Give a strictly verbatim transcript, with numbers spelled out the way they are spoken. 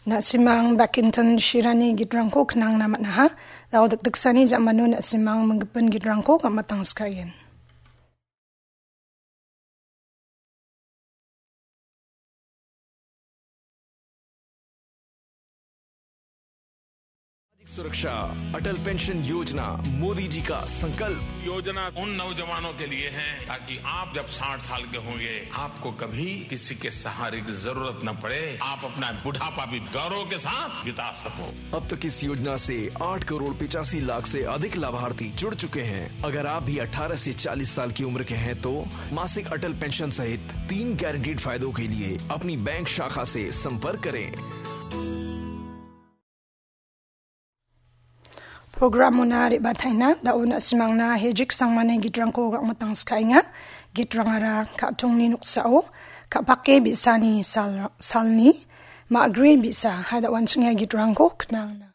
Na·simang Bakinton Shirani gitrangko knangna man·aha. Dao dikdiksani jamano na·simang minggipa gitrangko gamatangskaien. सुरक्षा, अटल पेंशन योजना, मोदी जी का संकल्प। योजना उन नौजवानों के लिए है, ताकि आप जब साठ साल के होंगे, आपको कभी किसी के सहारे की जरूरत न पड़े, आप अपना बुढ़ापा भी गौरव के साथ बिता सको। अब तक इस योजना से आठ करोड़ पचासी लाख से अधिक लाभार्थी जुड़ चुके हैं। अगर आप भी अठारह से चालीस साल की उम्र के हैं, तो मासिक अटल पेंशन सहित तीन गारंटीड फायदों के लिए अपनी बैंक शाखा से संपर्क करें। Program muna re·bataina, da·o na·simangna hejik sangmani gitrangko gamatangskaenga. Gitrangara ka·tongni noksao, ka·pake bi·sani sal-, salni, ma·gre bi·sa, hai da·o an·ching ia gitrangko knangna.